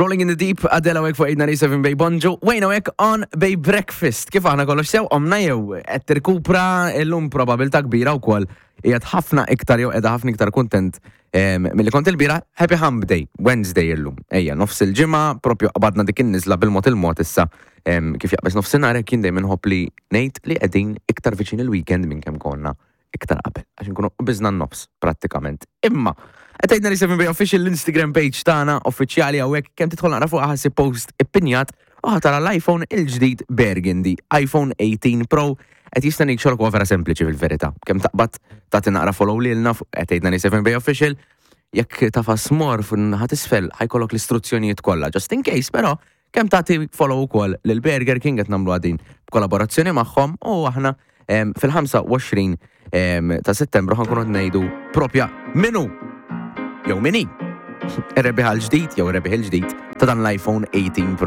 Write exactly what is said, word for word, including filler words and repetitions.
Rolling in the Deep, Adele hawnhekk fuq eight ninety-seven Bay Bonġu, Wayne hawnhekk on Bay Breakfast. Kif aħna, kollox sew, omna jew qed tirkupra illum? Probabilità kbira wkoll qiegħed ħafna iktar jew qiegħda ħafna iktar kuntent em, milli kont il-bieraħ. Happy Hump Day, Wednesday illum. Ejja, nofs il-ġimgħa, propju qabadna dik in-niżla bil-mod il-mod issa em, kif jaqbeż nofsinhar hekk jien dejjem inħobb li ngħid li qegħdin iktar viċin il-weekend minn kemm konna iktar qabel, għax nkunu qbiżna n-nofs prattikament. Imma, qed eight ninety-seven Bay Official, l-Instagram page tagħna uffiċjali hawnhekk, kemm tidħol naqra fuq ħa ssib post ippinjat u ħa tara l-iPhone il-ġdid Burgundy, iPhone eighteen Pro, qed jistennik. Xogħol huwa vera sempliċi fil-verità. Kemm taqbad tagħti naqra follow lilna fuq at eight ninety-seven Bay Official, jekk tagħfas more fuq naħa t'isfel ħa jkollok l-istruzzjonijiet kollha. Just in case, però, kemm tagħti follow ukoll lil Burger King, qed nagħmlu għadin b'kollaborazzjoni magħhom u aħna em, fil-ħamsa u għoxrin em, ta' Settembru ħa nkunu ngħidu propja min hu jew min hi ir-rebbieħ l-ġdid jew ir-rebbieħ il-ġdid ta' dan l-iPhone eighteen Pro.